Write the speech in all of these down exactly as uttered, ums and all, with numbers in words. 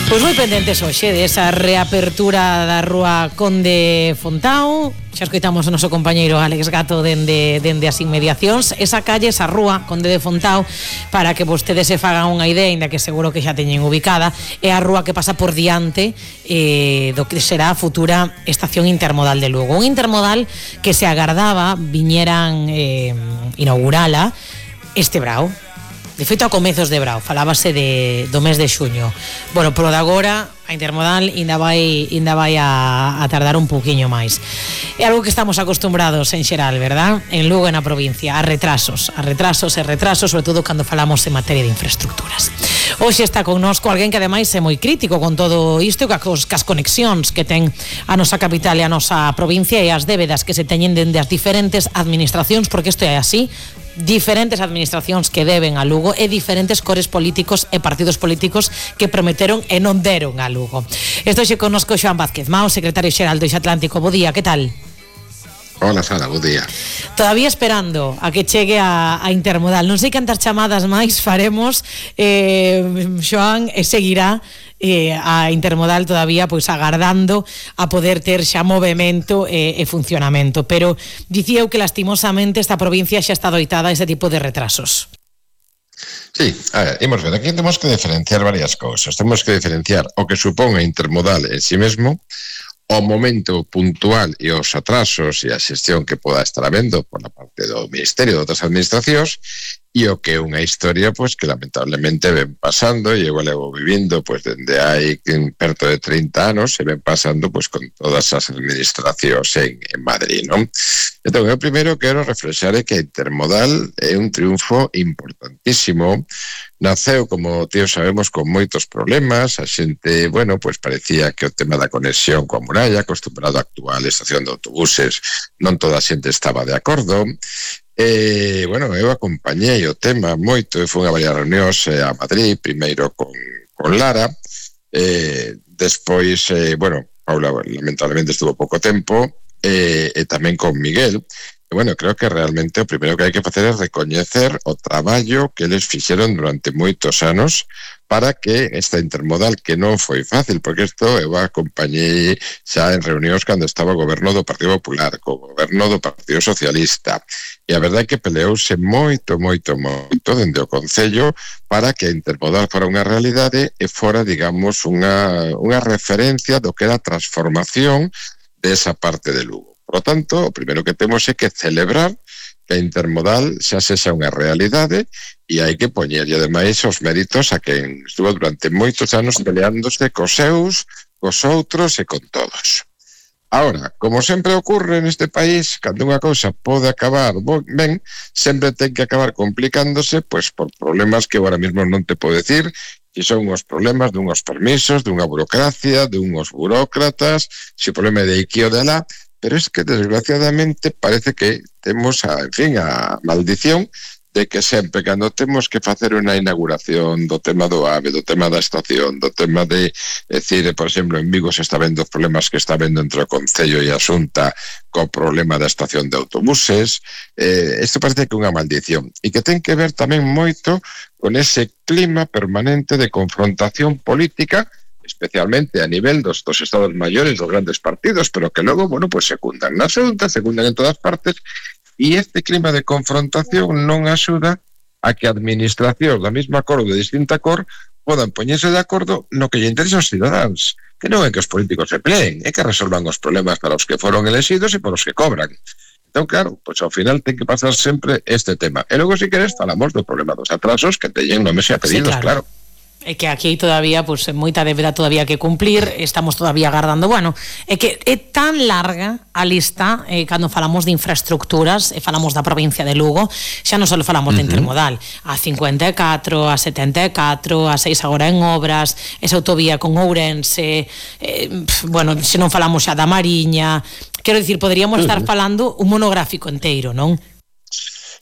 Pois moi pendentes hoxe desa reapertura da rúa Conde Fontao. Xa escoitamos o noso compañeiro Alex Gato dende, dende as inmediacións. Esa calle, esa rúa Conde de Fontao, para que vostedes se fagan unha idea, ainda que seguro que xa teñen ubicada, é a rúa que pasa por diante eh, do que será a futura estación intermodal de Lugo. Un intermodal que se agardaba viñeran eh, inaugurala este brao. De feito, a comezos de brao, falábase de, do mes de xuño. Bueno, pero de agora, a intermodal ainda vai, ainda vai a, a tardar un pouquiño máis. É algo que estamos acostumbrados en xeral, verdad? En Lugo e na provincia, a retrasos, a retrasos e retrasos, sobre todo cando falamos en materia de infraestructuras. Hoxe está connosco alguén que ademais é moi crítico con todo isto, cas, cas conexións que ten a nosa capital e a nosa provincia e as débedas que se teñen dende as diferentes administracións, porque isto é así, diferentes administracións que deben a Lugo e diferentes cores políticos e partidos políticos que prometeron e non deron a Lugo. Estou xe connosco Xoán Vázquez Mao, secretario xeral do Eix Atlántico. Bo día, que tal? Hola, Sara, bo día. Todavía esperando a que chegue a, a intermodal. Non sei cantas chamadas máis faremos, eh, Xoán, e seguirá eh, a intermodal todavía pois agardando a poder ter xa movimento e, e funcionamento, pero dicía eu que lastimosamente esta provincia xa está doitada a ese tipo de retrasos. Sí, a ver, imos ver, aquí temos que diferenciar varias cousas. Temos que diferenciar o que supón a intermodal en si mesmo, o momento puntual e os atrasos e a xestión que poda estar habendo por la parte do Ministerio de outras administracións e o que é unha historia pois que lamentablemente ven pasando e igual levo vivindo pois dende hai perto de trinta anos e ven pasando pois con todas as administracións en, en Madrid, non? Entón, eu primeiro quero reflexar é que a intermodal é un triunfo importantísimo. Naceu, como tíos sabemos, con moitos problemas. A xente, bueno, pois parecía que o tema da conexión coa muralla, acostumbrado a actual estación de autobuses, non toda a xente estaba de acordo. E, bueno, eu acompañei o tema moito e fui a varias reunións a Madrid, primeiro con, con Lara, eh, despois, eh, bueno, Paula lamentablemente estuvo pouco tempo, e, e tamén con Miguel. E, bueno, creo que realmente o primeiro que hai que facer é recoñecer o traballo que eles fixeron durante moitos anos para que esta intermodal, que non foi fácil, porque isto eu acompañei xa en reunións cando estaba o goberno do Partido Popular, co goberno do Partido Socialista, e a verdade é que peleouse moito, moito, moito dende o Concello para que a intermodal fora unha realidade e fora, digamos, unha, unha referencia do que era a transformación desa parte de Lugo. Por lo tanto, o primeiro que temos é que celebrar que a intermodal xa sexa unha realidade e hai que poñer, e ademais, os méritos a quen estuvo durante moitos anos peleándose cos seus, cos outros e con todos. Ahora, como sempre ocurre neste país, cando unha cousa pode acabar ben, sempre ten que acabar complicándose pois por problemas que agora mesmo non te podo decir, que son os problemas dunhos permisos, dunha burocracia, dunhos burócratas, se o problema de aquí ou de lá, pero es que desgraciadamente parece que temos a, en fin, a maldición de que sempre cando temos que facer unha inauguración do tema do AVE, do tema da estación, do tema de, decir, por exemplo, en Vigo se está vendo os problemas que está vendo entre o Concello e a Xunta co problema da estación de autobuses, eh, isto parece que é unha maldición e que ten que ver tamén moito con ese clima permanente de confrontación política, especialmente a nivel dos, dos estados maiores, dos grandes partidos, pero que logo, bueno, pues secundan na Xunta, secundan en todas partes. E este clima de confrontación non axuda a que a administración da mesma cor ou de distinta cor podan poñerse de acordo no que lle interesa aos cidadáns, que non é que os políticos se pleen, é que resolvan os problemas para os que foron elegidos e para os que cobran. Entón, claro, pois ao final ten que pasar sempre este tema. E logo, se queres, falamos do problema dos atrasos que teñen nomes e apelidos, sí, claro. claro. É que aquí todavía, pues, moita débeda todavía que cumplir, estamos todavía agardando. Bueno, é que é tan larga a lista eh, cando falamos de infraestructuras e falamos da provincia de Lugo, xa non só falamos uh-huh. de intermodal, a cincuenta e catro, a setenta e catro, a seis agora en obras, esa autovía con Ourense, eh, bueno, se non falamos xa da Mariña, quero dicir, poderíamos uh-huh. estar falando un monográfico inteiro, non?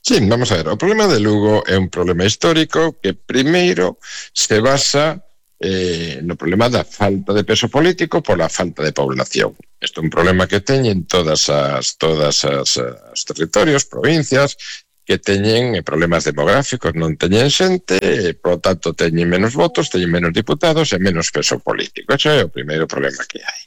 Sí, vamos a ver, o problema de Lugo é un problema histórico que primeiro se basa eh, no problema da falta de peso político pola falta de población. Isto é un problema que teñen todas as todas as, as territorios, provincias, que teñen problemas demográficos, non teñen xente, e, por lo tanto, teñen menos votos, teñen menos diputados e menos peso político. Ese é o primeiro problema que hai.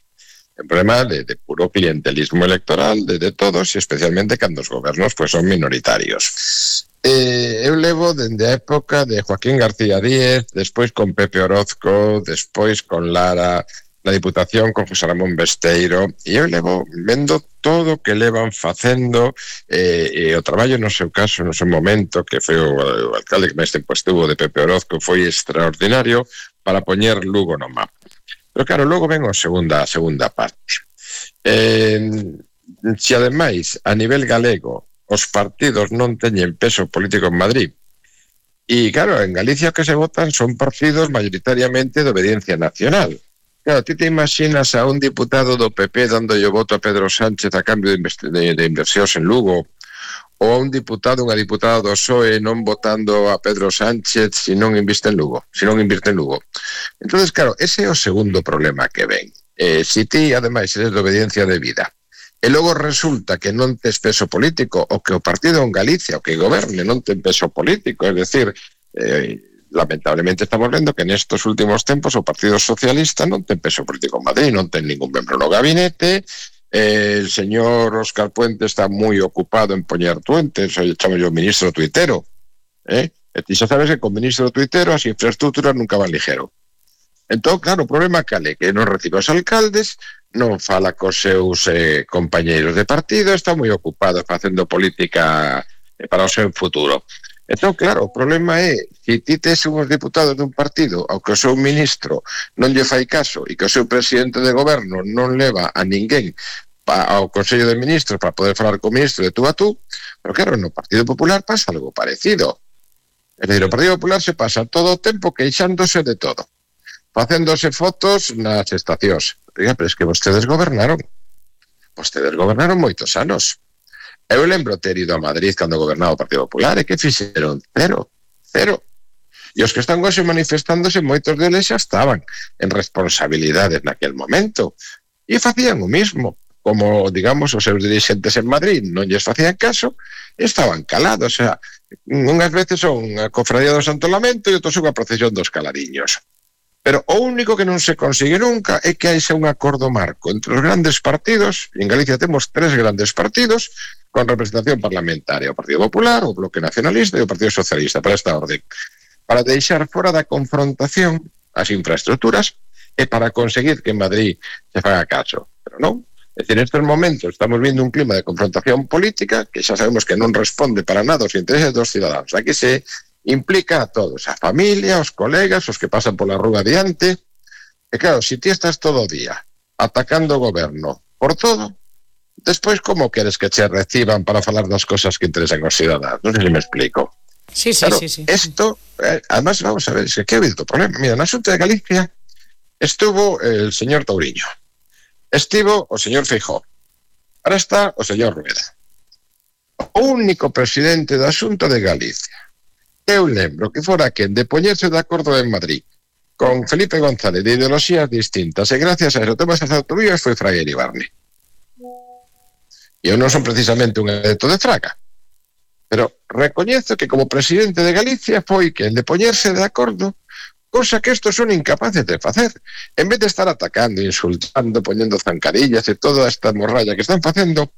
Un problema de, de puro clientelismo electoral de, de todos, e especialmente cando os gobernos pues, son minoritarios. Eh, eu levo dende a época de Joaquín García Díez, despois con Pepe Orozco, despois con Lara, na Diputación con José Ramón Besteiro, e eu levo vendo todo o que levan facendo, eh, e o traballo no seu caso, no seu momento, que foi o, o alcalde que máis tempo estuvo de Pepe Orozco, foi extraordinario para poñer Lugo no mapa. Pero claro, logo ven a segunda, a segunda parte. Eh, se ademais, a nivel galego, os partidos non teñen peso político en Madrid, e claro, en Galicia que se votan son partidos mayoritariamente de obediencia nacional. Claro, ti te imaginas a un diputado do P P dando o voto a Pedro Sánchez a cambio de, de, de inversións en Lugo, ou a un diputado, unha diputada do P S O E non votando a Pedro Sánchez se non inviste en Lugo, se non invirte en Lugo. Entonces, claro, ese é o segundo problema que ven. Eh, se ti, ademais, eres de obediencia de vida, e logo resulta que non tes peso político, o que o partido en Galicia, o que goberne, non ten peso político, é dicir, eh, lamentablemente estamos vendo que nestos últimos tempos o Partido Socialista non ten peso político en Madrid, non ten ningún membro no gabinete, eh, el señor Óscar Puente está moi ocupado en poñer tuentes, chamo yo ministro tuitero, eh? e ti xa sabes que con ministro tuitero as infraestructuras nunca van ligero. Entón, claro, o problema cale que non recibe os alcaldes, non fala cos seus eh, compañeiros de partido, está moi ocupado facendo política eh, para o seu futuro. Entón, claro, o problema é que ti tes unhos diputados dun partido ao que o seu ministro non lle fai caso e que o seu presidente de goberno non leva a ninguén pa, ao Consello de Ministros para poder falar co ministro de tú a tú, pero claro, no Partido Popular pasa algo parecido. É dicir, o Partido Popular se pasa todo o tempo queixándose de todo, facéndose fotos nas estacións. Pero, pero é que vostedes gobernaron. Vostedes gobernaron moitos anos. Eu lembro ter ido a Madrid cando gobernaba o Partido Popular, e que fixeron? Cero, cero. E os que están hoxe manifestándose, moitos deles xa estaban en responsabilidades naquel momento. E facían o mismo. Como, digamos, os seus dirigentes en Madrid non lles facían caso, estaban calados. O sea, unhas veces son a cofradía do Santo Lamento e outros son a procesión dos Caladiños. Pero o único que non se consigue nunca é que haxa un acordo marco entre os grandes partidos. En Galicia temos tres grandes partidos con representación parlamentaria, o Partido Popular, o Bloque Nacionalista e o Partido Socialista, para esta orden, para deixar fora da confrontación as infraestructuras e para conseguir que en Madrid se faga caso. Pero non. É dicir, nestes momentos estamos vindo un clima de confrontación política que xa sabemos que non responde para nada aos intereses dos ciudadanos. Aquí se implica a todos, a familia, os colegas, os que pasan pola rúa adiante. E claro, se ti estás todo o día atacando o goberno por todo, despois como queres que che reciban para falar das cosas que interesan aos ciudadanos? Non sei se me explico. Sí, sí, claro, sí, sí. Esto, eh, además, vamos a ver, es que ¿qué ha habido problema? Mira, na Xunta de Galicia estuvo el señor Touriño, estivo o señor Feijóo, ahora está o señor Rueda. O único presidente da Xunta de Galicia, eu lembro que fora quen de poñerse de acordo en Madrid con Felipe González de ideoloxías distintas, e gracias a eso temas as autovías, foi Fraga Iribarne. E eu non son precisamente un adepto de Fraga, pero recoñezo que como presidente de Galicia foi quen de poñerse de acordo, cosa que estos son incapaces de facer. En vez de estar atacando, insultando, poñendo zancadillas e toda esta morralla que están facendo,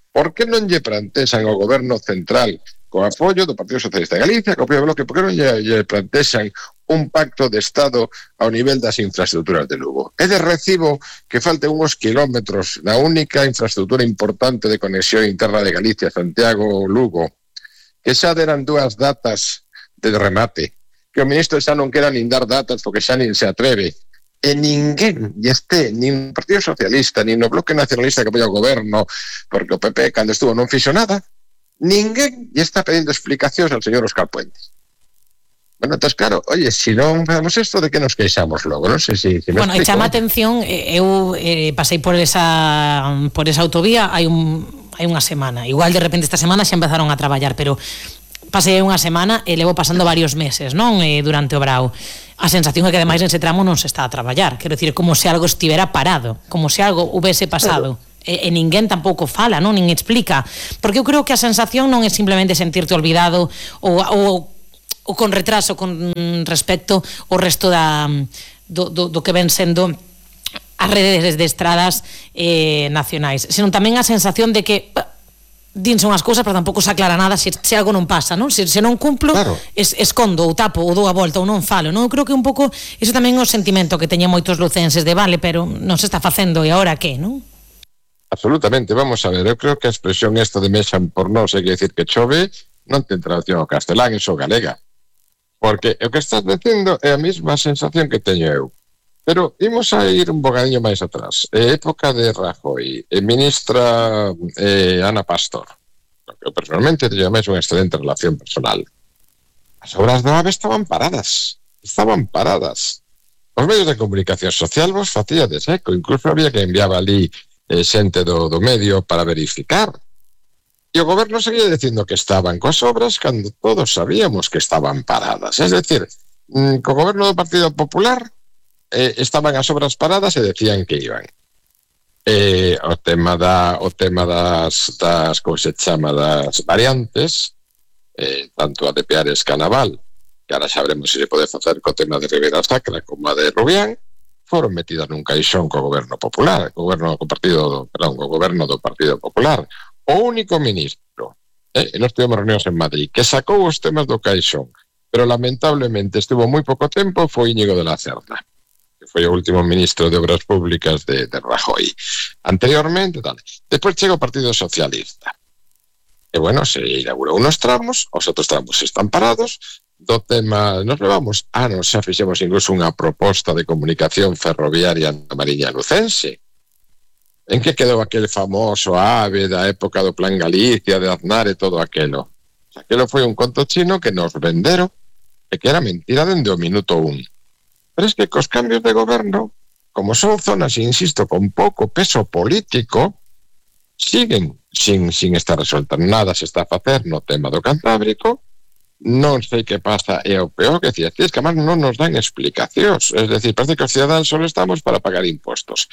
por que non lle plantexan ao goberno central co apoio do Partido Socialista de Galicia, co apoio do Bloque, por que non lle, lle plantexan un pacto de Estado ao nivel das infraestructuras de Lugo? É de recibo que falten uns kilómetros na única infraestructura importante de conexión interna de Galicia, Santiago-Lugo, que xa deran dúas datas de remate, que o ministro xa non quera nin dar datas porque xa nin se atreve, e ninguén lle este, nin o Partido Socialista, nin o Bloque Nacionalista que apoia o goberno, porque o P P cando estuvo non fixo nada, ninguén lle está pedindo explicacións al señor Óscar Puente. Bueno, entonces, claro, oye, si non fazemos isto, de que nos queixamos logo? Non sei se, se me bueno, e chama atención, eu eh, pasei por esa por esa autovía hai un hai unha semana. Igual de repente esta semana xa empezaron a traballar, pero pasei unha semana e levo pasando varios meses, non? Eh, durante o brao. A sensación é que ademais nese tramo non se está a traballar. Quero dicir, como se algo estivera parado, como se algo houvese pasado. Claro. e, e ninguén tampouco fala, non, nin explica, porque eu creo que a sensación non é simplemente sentirte olvidado ou, ou, ou con retraso con respecto ao resto da, do, do, do que ven sendo as redes de estradas eh, nacionais, senón tamén a sensación de que dinse unhas cousas, pero tampouco se aclara nada se, se algo non pasa, non? Se, se non cumplo, claro. es, escondo ou tapo ou dou a volta ou non falo, non? Eu creo que un pouco iso tamén é o sentimento que teñen moitos lucenses de vale, pero non se está facendo e agora que, non? Absolutamente, vamos a ver, eu creo que a expresión esta de mexan por nós, é que decir que chove, non ten traducción ao castelán, iso galega, porque o que estás dicindo é a mesma sensación que teño eu. Pero imos a ir un bocadinho máis atrás. Eh, época de Rajoy, eh, ministra eh, Ana Pastor, que personalmente teño máis unha excelente relación personal. As obras do AVE estaban paradas, estaban paradas. Os medios de comunicación social vos facía de seco, incluso había que enviaba ali eh, xente do, do medio para verificar. E o goberno seguía dicindo que estaban coas obras cando todos sabíamos que estaban paradas. Es decir, mm, co goberno do Partido Popular Eh, estaban as obras paradas e decían que iban. Eh, o tema da o tema das, das como se chama, das variantes, eh, tanto a de Peares Canaval, que ahora xa veremos se se pode facer co tema de Ribeira Sacra como a de Rubián, foron metidas nun caixón co goberno popular, co goberno co partido, perdón, co goberno do Partido Popular. O único ministro, eh, e nós tivemos reunións en Madrid, que sacou os temas do caixón, pero lamentablemente estivo moi pouco tempo, foi Íñigo de la Cerda, que foi o último ministro de Obras Públicas de, de Rajoy. Anteriormente, tal. Despois chega o Partido Socialista. E, bueno, se inaugurou unos tramos, os outros tramos están parados. Do tema, nos levamos anos, xa fixemos incluso unha proposta de comunicación ferroviaria na Mariña Lucense. En que quedou aquel famoso AVE da época do Plan Galicia, de Aznar e todo aquelo? O sea, aquelo foi un conto chino que nos venderon e que era mentira dende o minuto un. Pero es que cos cambios de goberno, como son zonas, insisto, con pouco peso político, siguen sin, sin estar resueltas. Nada se está a facer no tema do Cantábrico, non sei que pasa, e o peor que decía, es que además non nos dan explicacións, es decir, parece que os ciudadanos solo estamos para pagar impostos.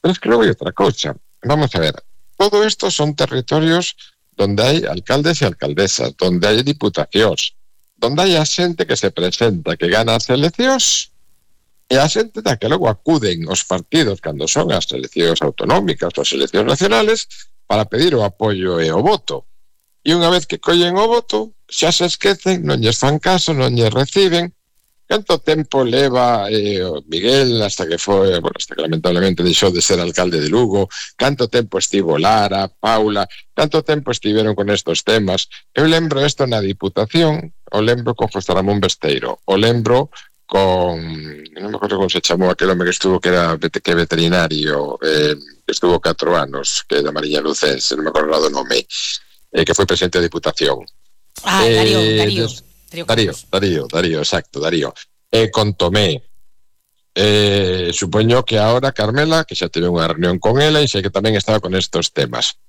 Pero es que luego hai outra cousa. Vamos a ver, todo isto son territorios donde hai alcaldes e alcaldesas, donde hai diputacións, donde hai a xente que se presenta, que gana as eleccións, e a xente da que logo acuden os partidos cando son as eleccións autonómicas ou as eleccións nacionales para pedir o apoio e o voto. E unha vez que collen o voto, xa se esquecen, non lles fan caso, non lles reciben. Canto tempo leva eh, Miguel hasta que foi, bueno, hasta que lamentablemente deixou de ser alcalde de Lugo, canto tempo estivo Lara, Paula, canto tempo estiveron con estos temas. Eu lembro isto na Diputación, o lembro con José Ramón Besteiro, o lembro con, non me acordo como se chamou aquel home que estuvo, que era que veterinario, eh, que estuvo catro anos, que é da Mariña Lucense, non me acordo do nome, eh, que foi presidente da Diputación. Ah, eh, Darío, Darío. Darío, Darío, Darío, Darío, exacto, Darío. Eh, con Tomé. Eh, supoño que ahora Carmela, que xa teve unha reunión con ela e sei que tamén estaba con estos temas.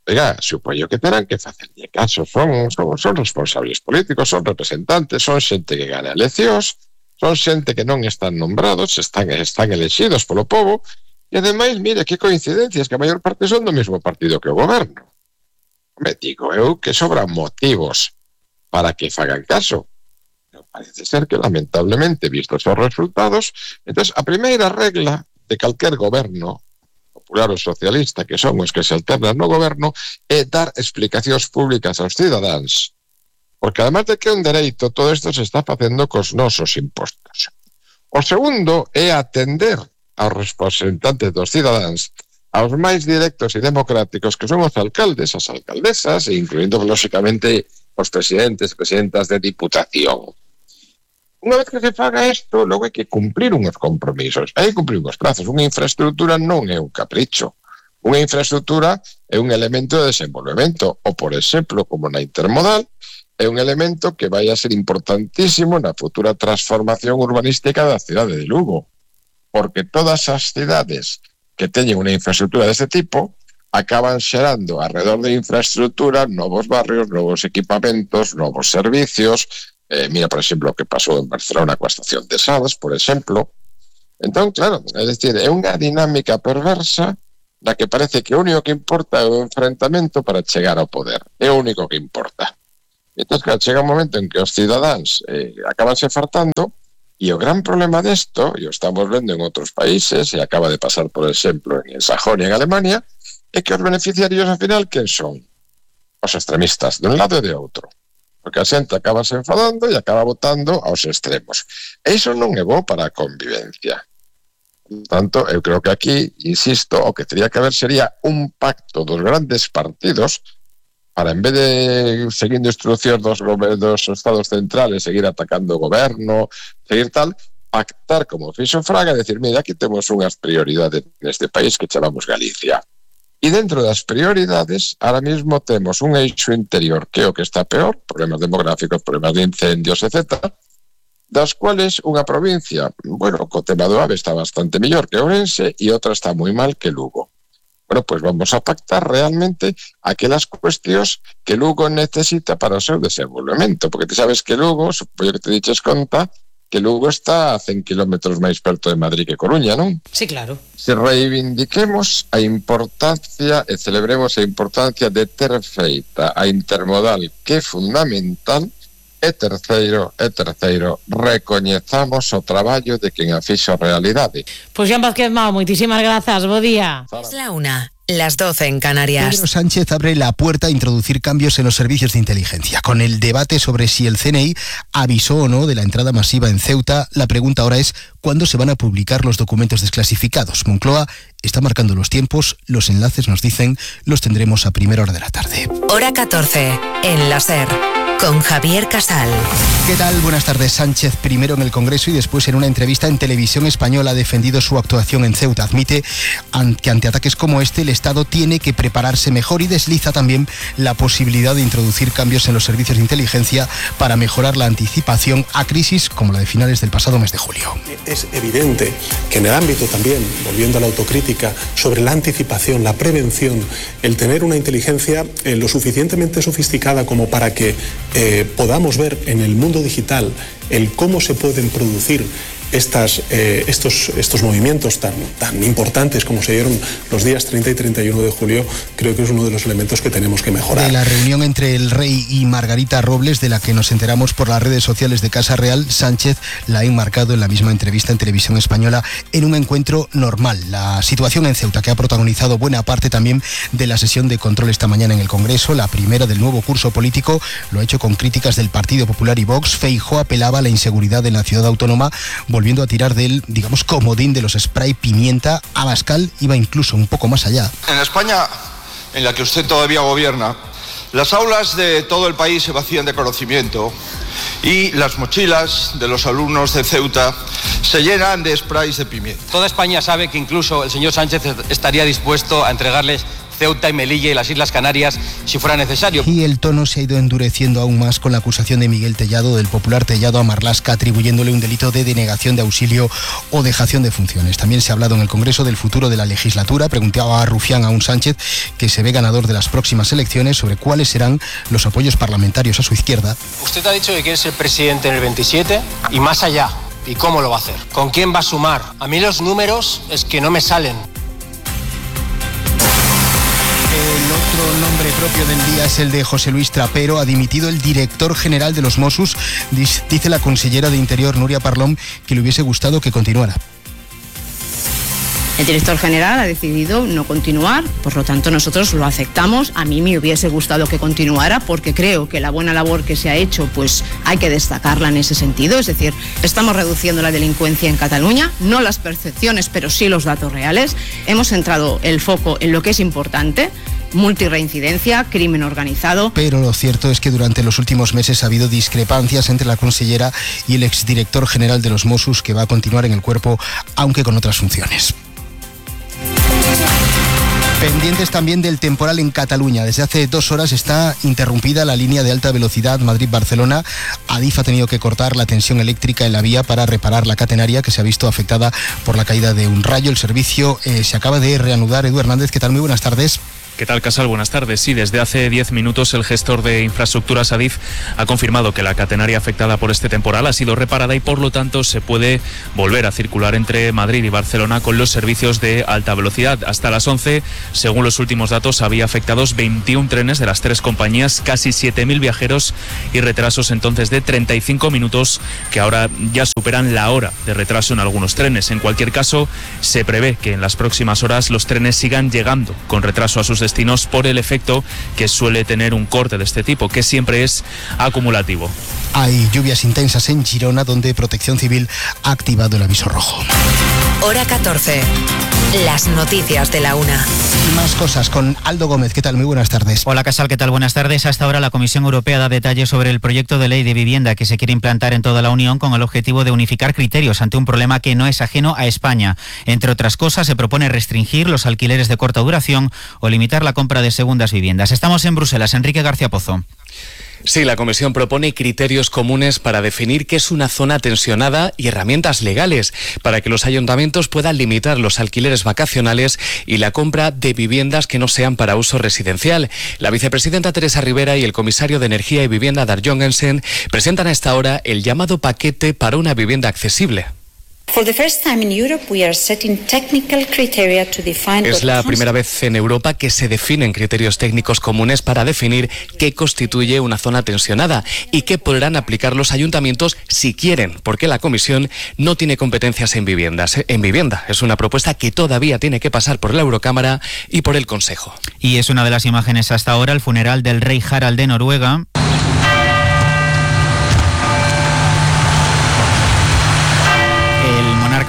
Oiga, supoño que terán que facerlle caso, son, son, son responsables políticos, son representantes, son xente que gana eleccións, son xente que non están nombrados, están, están elexidos polo povo, e ademais, mire, que coincidencias, que a maior parte son do mesmo partido que o goberno. Me digo eu que sobran motivos para que fagan caso. Pero parece ser que, lamentablemente, vistos os resultados, entonces a primeira regla de calquer goberno, popular ou socialista, que son os que se alternan no goberno, é dar explicacións públicas aos cidadáns. Porque además de que é un dereito, todo isto se está facendo cos nosos impostos. O segundo é atender aos representantes dos cidadáns, aos máis directos e democráticos que son os alcaldes, as alcaldesas, e incluindo, lógicamente, os presidentes, presidentas de diputación. Unha vez que se faga isto, logo hai que cumplir uns compromisos, hai que cumplir uns plazos. Unha infraestructura non é un capricho. Unha infraestructura é un elemento de desenvolvemento, ou, por exemplo, como na intermodal, é un elemento que vai a ser importantísimo na futura transformación urbanística da cidade de Lugo, porque todas as cidades que teñen unha infraestructura deste tipo acaban xerando alrededor de infraestructura novos barrios, novos equipamentos, novos servicios. Eh, mira, por exemplo, o que pasou en Barcelona coa estación de Sadas, por exemplo. Entón, claro, é dicir, é unha dinámica perversa na que parece que o único que importa é o enfrentamento para chegar ao poder. É o único que importa. Entón, claro, chega un momento en que os cidadáns eh, acabanse fartando, e o gran problema desto, e o estamos vendo en outros países, e acaba de pasar, por exemplo, en Sajonia, en Alemania, é que os beneficiarios, ao final, quen son? Os extremistas, de un lado e de outro. Porque a xente acaba se enfadando e acaba votando aos extremos. E iso non é bo para a convivencia. Por tanto, eu creo que aquí, insisto, o que teria que haber sería un pacto dos grandes partidos para, en vez de seguindo instruccións dos, dos estados centrales, seguir atacando o goberno, seguir tal, pactar como fixo Fraga e decir, mira, aquí temos unhas prioridades neste país que chamamos Galicia. E dentro das prioridades, ahora mismo temos un eixo interior que é o que está peor, problemas demográficos, problemas de incendios, etcétera, das cuales unha provincia, bueno, co tema do AVE está bastante mellor que Ourense e outra está moi mal que Lugo. Bueno, pues vamos a pactar realmente aquelas cuestións que Lugo necesita para o seu desenvolvemento, porque te sabes que Lugo, supoño que te diches conta, que Lugo está a cen kilómetros máis perto de Madrid que Coruña, non? Sí, claro. Se reivindiquemos a importancia e celebremos a importancia de ter feita a intermodal, que é fundamental, e terceiro, e terceiro, recoñezamos o traballo de quen a fixo realidade. Pois Joan Vázquez Mao, moitísimas grazas, bo día. Es la una. Las doce en Canarias. Pedro Sánchez abre la puerta a introducir cambios en los servicios de inteligencia. Con el debate sobre si el C N I avisó o no de la entrada masiva en Ceuta, la pregunta ahora es ¿cuándo se van a publicar los documentos desclasificados? Moncloa está marcando los tiempos, los enlaces nos dicen, los tendremos a primera hora de la tarde. Hora catorce, en la SER, con Javier Casal. ¿Qué tal? Buenas tardes. Sánchez, primero en el Congreso y después en una entrevista en Televisión Española, ha defendido su actuación en Ceuta. Admite que ante ataques como este el Estado tiene que prepararse mejor y desliza también la posibilidad de introducir cambios en los servicios de inteligencia para mejorar la anticipación a crisis como la de finales del pasado mes de julio. Es evidente que en el ámbito también, volviendo a la autocrítica, sobre la anticipación, la prevención, el tener una inteligencia eh, lo suficientemente sofisticada como para que eh, podamos ver en el mundo digital el cómo se pueden producir Estas, eh, estos, estos movimientos tan, tan importantes como se dieron los días treinta y treinta y uno de julio, creo que es uno de los elementos que tenemos que mejorar. De la reunión entre el rey y Margarita Robles, de la que nos enteramos por las redes sociales de Casa Real, Sánchez la ha enmarcado en la misma entrevista en Televisión Española en un encuentro normal. La situación en Ceuta, que ha protagonizado buena parte también de la sesión de control esta mañana en el Congreso, la primera del nuevo curso político, lo ha hecho con críticas del Partido Popular y Vox. Feijóo apelaba a la inseguridad en la ciudad autónoma, volviendo a tirar del, digamos, comodín de los spray pimienta. Abascal iba incluso un poco más allá. En España, en la que usted todavía gobierna, las aulas de todo el país se vacían de conocimiento y las mochilas de los alumnos de Ceuta se llenan de sprays de pimienta. Toda España sabe que incluso el señor Sánchez estaría dispuesto a entregarles Ceuta y Melilla y las Islas Canarias si fuera necesario. Y el tono se ha ido endureciendo aún más con la acusación de Miguel Tellado, del popular Tellado, a Marlaska, atribuyéndole un delito de denegación de auxilio o dejación de funciones. También se ha hablado en el Congreso del futuro de la legislatura. Preguntaba a Rufián a un Sánchez, que se ve ganador de las próximas elecciones, sobre cuáles serán los apoyos parlamentarios a su izquierda. Usted ha dicho que quiere ser presidente en el veintisiete y más allá. ¿Y cómo lo va a hacer? ¿Con quién va a sumar? A mí los números es que no me salen. El otro nombre propio del día es el de José Luis Trapero. Ha dimitido el director general de los Mossos. Dice la consellera de Interior, Núria Parlon, que le hubiese gustado que continuara. El director general ha decidido no continuar, por lo tanto nosotros lo aceptamos. A mí me hubiese gustado que continuara porque creo que la buena labor que se ha hecho pues hay que destacarla en ese sentido. Es decir, estamos reduciendo la delincuencia en Cataluña, no las percepciones pero sí los datos reales. Hemos centrado el foco en lo que es importante: multirreincidencia, crimen organizado. Pero lo cierto es que durante los últimos meses ha habido discrepancias entre la consellera y el exdirector general de los Mossos, que va a continuar en el cuerpo aunque con otras funciones. Pendientes también del temporal en Cataluña. Desde hace dos horas está interrumpida la línea de alta velocidad Madrid-Barcelona. Adif ha tenido que cortar la tensión eléctrica en la vía para reparar la catenaria, que se ha visto afectada por la caída de un rayo. El servicio eh, se acaba de reanudar. Edu Hernández, ¿qué tal? Muy buenas tardes. ¿Qué tal, Casal? Buenas tardes. Sí, desde hace diez minutos el gestor de infraestructuras Adif ha confirmado que la catenaria afectada por este temporal ha sido reparada y por lo tanto se puede volver a circular entre Madrid y Barcelona con los servicios de alta velocidad. Hasta las once, según los últimos datos, había afectados veintiún trenes de las tres compañías, casi siete mil viajeros y retrasos entonces de treinta y cinco minutos que ahora ya superan la hora de retraso en algunos trenes. En cualquier caso, se prevé que en las próximas horas los trenes sigan llegando con retraso a sus destinos por el efecto que suele tener un corte de este tipo, que siempre es acumulativo. Hay lluvias intensas en Girona, donde Protección Civil ha activado el aviso rojo. Hora catorce. Las noticias de la una. Y más cosas con Aldo Gómez. ¿Qué tal? Muy buenas tardes. Hola, Casal. ¿Qué tal? Buenas tardes. Hasta ahora la Comisión Europea da detalles sobre el proyecto de ley de vivienda que se quiere implantar en toda la Unión con el objetivo de unificar criterios ante un problema que no es ajeno a España. Entre otras cosas, se propone restringir los alquileres de corta duración o limitar la compra de segundas viviendas. Estamos en Bruselas. Enrique García Pozo. Sí, la Comisión propone criterios comunes para definir qué es una zona tensionada y herramientas legales para que los ayuntamientos puedan limitar los alquileres vacacionales y la compra de viviendas que no sean para uso residencial. La vicepresidenta Teresa Rivera y el comisario de Energía y Vivienda Dar Jorgensen presentan a esta hora el llamado paquete para una vivienda accesible. Es la primera vez en Europa que se definen criterios técnicos comunes para definir qué constituye una zona tensionada y qué podrán aplicar los ayuntamientos si quieren, porque la Comisión no tiene competencias en viviendas. En vivienda es una propuesta que todavía tiene que pasar por la Eurocámara y por el Consejo. Y es una de las imágenes hasta ahora, el funeral del rey Harald de Noruega.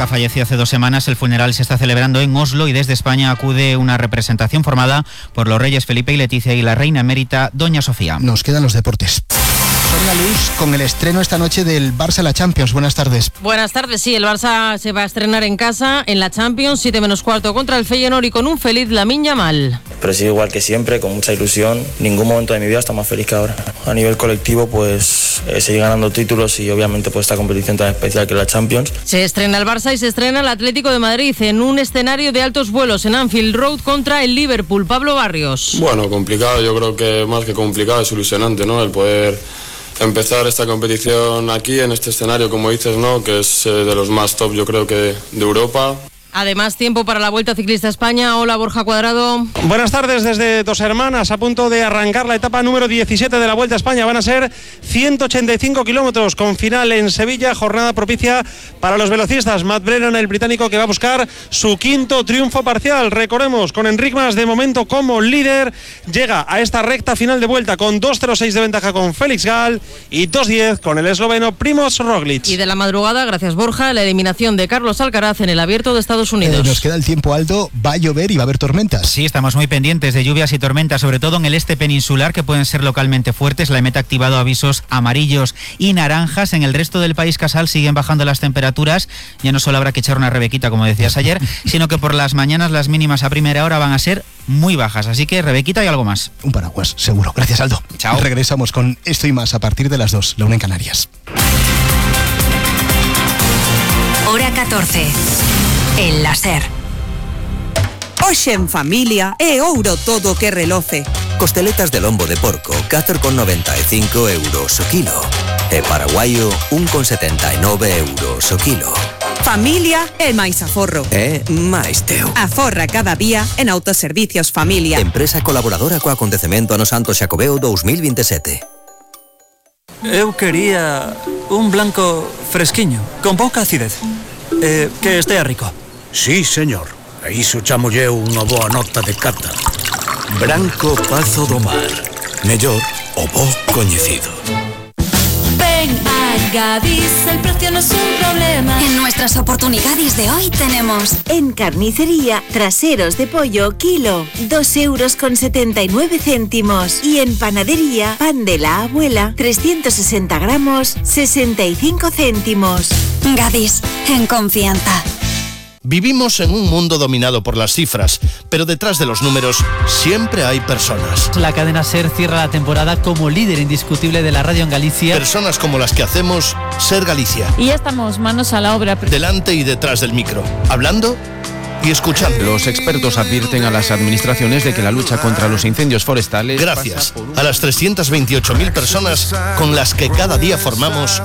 Falleció hace dos semanas. El funeral se está celebrando en Oslo y desde España acude una representación formada por los reyes Felipe y Leticia y la reina emérita Doña Sofía. Nos quedan los deportes. Sonia Luz, con el estreno esta noche del Barça en la Champions. Buenas tardes. Buenas tardes, sí, el Barça se va a estrenar en casa en la Champions, siete menos cuarto contra el Feyenoord y con un feliz Lamine Yamal. Pero sí, igual que siempre, con mucha ilusión. Ningún momento de mi vida está más feliz que ahora. A nivel colectivo, pues eh, seguir ganando títulos y obviamente pues esta competición tan especial que es la Champions. Se estrena el Barça y se estrena el Atlético de Madrid en un escenario de altos vuelos en Anfield Road contra el Liverpool. Pablo Barrios. Bueno, complicado, yo creo que más que complicado es ilusionante, ¿no? El poder empezar esta competición aquí, en este escenario, como dices, ¿no? Que es eh, de los más top, yo creo que de Europa. Además, tiempo para la Vuelta Ciclista a España. Hola, Borja Cuadrado. Buenas tardes desde Dos Hermanas, a punto de arrancar la etapa número diecisiete de la Vuelta a España. Van a ser ciento ochenta y cinco kilómetros con final en Sevilla, jornada propicia para los velocistas. Matt Brennan, el británico, que va a buscar su quinto triunfo parcial. Recordemos, con Enric Mas de momento como líder, llega a esta recta final de vuelta con dos cero seis de ventaja con Félix Gall y dos diez con el esloveno Primož Roglic. Y de la madrugada, gracias Borja, la eliminación de Carlos Alcaraz en el Abierto de Estados Unidos. Eh, nos queda el tiempo, Aldo. Va a llover y va a haber tormentas. Sí, estamos muy pendientes de lluvias y tormentas, sobre todo en el este peninsular, que pueden ser localmente fuertes. La E M E T ha activado avisos amarillos y naranjas. En el resto del país, Casal, siguen bajando las temperaturas. Ya no solo habrá que echar una rebequita, como decías ayer, sino que por las mañanas las mínimas a primera hora van a ser muy bajas. Así que rebequita y algo más. Un paraguas, seguro. Gracias, Aldo. Chao. Regresamos con esto y más a partir de las dos, la una en Canarias. Hora catorce. En la SER. Hoxe en familia é ouro todo que reloce. Costeletas de lombo de porco, catro con noventa e cinco euros o kilo. E paraguaio, un con setenta e nove euros o kilo. Familia é máis aforro. É máis teu. Aforra cada día en Autoservicios Familia. Empresa colaboradora co acontecemento Ano Santo Xacobeo dos mil veintisiete. Eu quería un blanco fresquiño, con pouca acidez. Eh, que estea rico. Sí, señor. E iso chamolle unha boa nota de cata. Branco Pazo do Mar. Mellor o bo coñecido. Ven a Gadis, el precio no es un problema. En nuestras oportunidades de hoy tenemos en carnicería, traseros de pollo, kilo, dos euros con setenta y nueve céntimos. Y en panadería, pan de la abuela, trescientos sesenta gramos, sesenta y cinco céntimos. Gadis, en confianza. Vivimos en un mundo dominado por las cifras, pero detrás de los números siempre hay personas. La cadena SER cierra la temporada como líder indiscutible de la radio en Galicia. Personas como las que hacemos SER Galicia. Y ya estamos manos a la obra. Delante y detrás del micro, hablando y escuchando. Los expertos advierten a las administraciones de que la lucha contra los incendios forestales... Gracias a las trescientas veintiocho mil personas con las que cada día formamos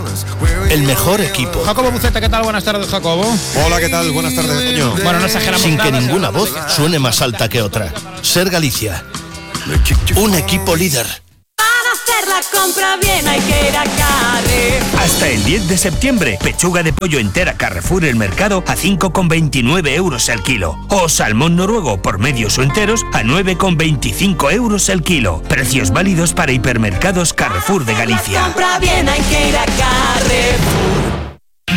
el mejor equipo. Jacobo Buceta, ¿qué tal? Buenas tardes, Jacobo. Hola, ¿qué tal? Buenas tardes, Toño. Bueno, no exageramos. Sin que ninguna voz suene más alta que otra. Ser Galicia. Un equipo líder. Hacer la compra bien hay que ir a Carrefour. Hasta el diez de septiembre, pechuga de pollo entera Carrefour El Mercado a cinco con veintinueve euros el kilo. O salmón noruego por medios o enteros a nueve con veinticinco euros el kilo. Precios válidos para hipermercados Carrefour de Galicia. La compra bien hay que ir a Carrefour.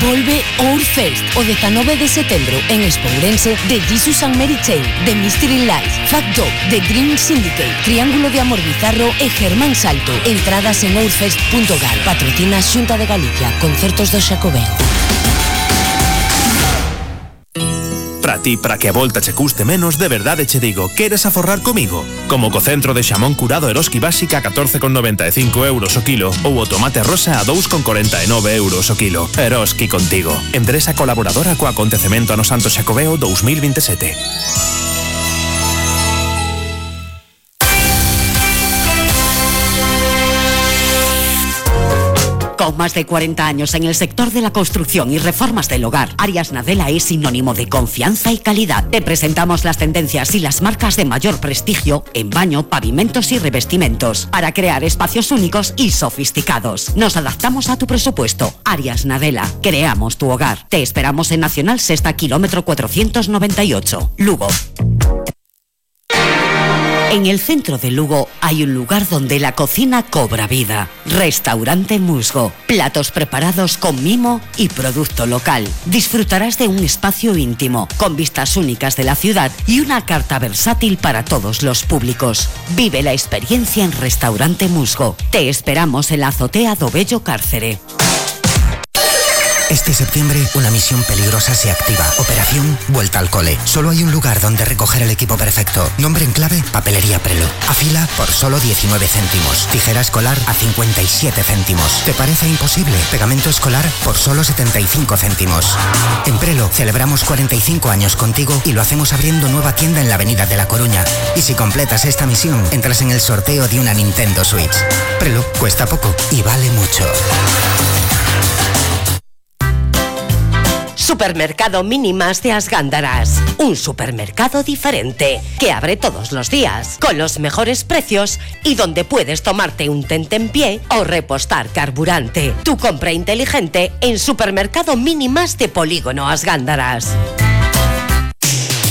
Volve Ourfest o dezanove de setembro en Expo Ourense de Jesus and Mary Chain, The Mystery Lies, Fact Dog, The Dream Syndicate, Triángulo de Amor Bizarro e Germán Salto. Entradas en ourfest punto gal. Patrocina Xunta de Galicia. Concertos do Xacobeo. Para ti, para que a volta che custe menos, de verdade che digo, queres aforrar comigo? Como co centro de xamón curado Eroski Básica a catorce con noventa e cinco euros o kilo ou o tomate rosa a dous con corenta e nove euros o kilo. Eroski contigo. Empresa colaboradora co acontecemento ano Santo Xacobeo dos mil veintisiete. Con más de cuarenta años en el sector de la construcción y reformas del hogar, Arias Nadella es sinónimo de confianza y calidad. Te presentamos las tendencias y las marcas de mayor prestigio en baño, pavimentos y revestimientos para crear espacios únicos y sofisticados. Nos adaptamos a tu presupuesto. Arias Nadella, creamos tu hogar. Te esperamos en Nacional Sexta, kilómetro cuatrocientos noventa y ocho, Lugo. En el centro de Lugo hay un lugar donde la cocina cobra vida. Restaurante Musgo. Platos preparados con mimo y producto local. Disfrutarás de un espacio íntimo, con vistas únicas de la ciudad y una carta versátil para todos los públicos. Vive la experiencia en Restaurante Musgo. Te esperamos en la azotea do Bello Cárcere. Este septiembre, una misión peligrosa se activa. Operación Vuelta al Cole. Solo hay un lugar donde recoger el equipo perfecto. Nombre en clave, Papelería Prelo. Afila por solo diecinueve céntimos. Tijera escolar a cincuenta y siete céntimos. ¿Te parece imposible? Pegamento escolar por solo setenta y cinco céntimos. En Prelo celebramos cuarenta y cinco años contigo y lo hacemos abriendo nueva tienda en la Avenida de La Coruña. Y si completas esta misión, entras en el sorteo de una Nintendo Switch. Prelo cuesta poco y vale mucho. Supermercado Mínimas de Asgándaras. Un supermercado diferente que abre todos los días con los mejores precios y donde puedes tomarte un tentempié o repostar carburante. Tu compra inteligente en Supermercado Mínimas de Polígono Asgándaras.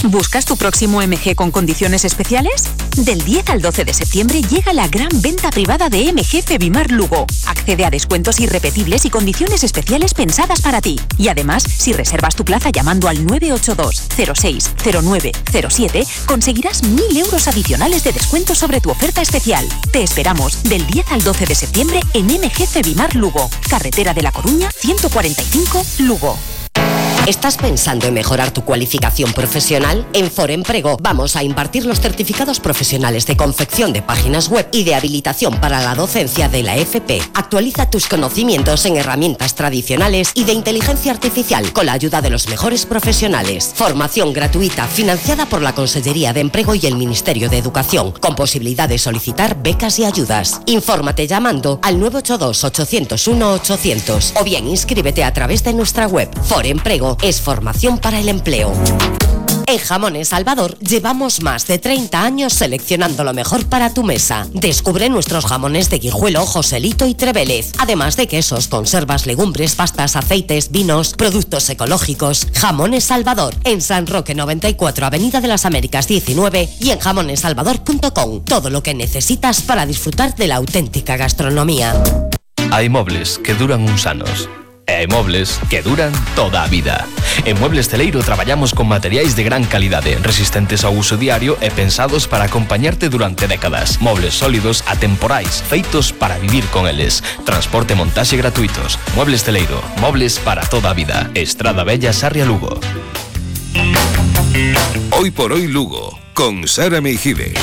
¿Buscas tu próximo M G con condiciones especiales? Del diez al doce de septiembre llega la gran venta privada de M G Febimar Lugo. Accede a descuentos irrepetibles y condiciones especiales pensadas para ti. Y además, si reservas tu plaza llamando al nueve ocho dos, cero seis, cero nueve, cero siete, conseguirás mil euros adicionales de descuento sobre tu oferta especial. Te esperamos del diez al doce de septiembre en M G Febimar Lugo. Carretera de La Coruña, ciento cuarenta y cinco, Lugo. ¿Estás pensando en mejorar tu cualificación profesional? En Foremprego vamos a impartir los certificados profesionales de confección de páginas web y de habilitación para la docencia de la F P. Actualiza tus conocimientos en herramientas tradicionales y de inteligencia artificial con la ayuda de los mejores profesionales. Formación gratuita financiada por la Consellería de Empleo y el Ministerio de Educación, con posibilidad de solicitar becas y ayudas. Infórmate llamando al nueve ocho dos, ocho cero uno, ochocientos o bien inscríbete a través de nuestra web. Foremprego es formación para el empleo. En Jamones Salvador llevamos más de treinta años seleccionando lo mejor para tu mesa. Descubre nuestros jamones de Guijuelo, Joselito y Trevélez. Además de quesos, conservas, legumbres, pastas, aceites, vinos, productos ecológicos. Jamones Salvador, en San Roque noventa y cuatro, Avenida de las Américas diecinueve y en jamones salvador punto com. Todo lo que necesitas para disfrutar de la auténtica gastronomía. Hai mobles que duran uns anos. E hai mobles que duran toda a vida. En Muebles Celeiro traballamos con materiais de gran calidade, resistentes ao uso diario e pensados para acompañarte durante décadas. Mobles sólidos, atemporais, feitos para vivir con eles. Transporte e montaxe gratuitos. Muebles Celeiro, mobles para toda a vida. Estrada Bella, Sarria, Lugo. Hoy por hoy Lugo, con Sara Meijibe.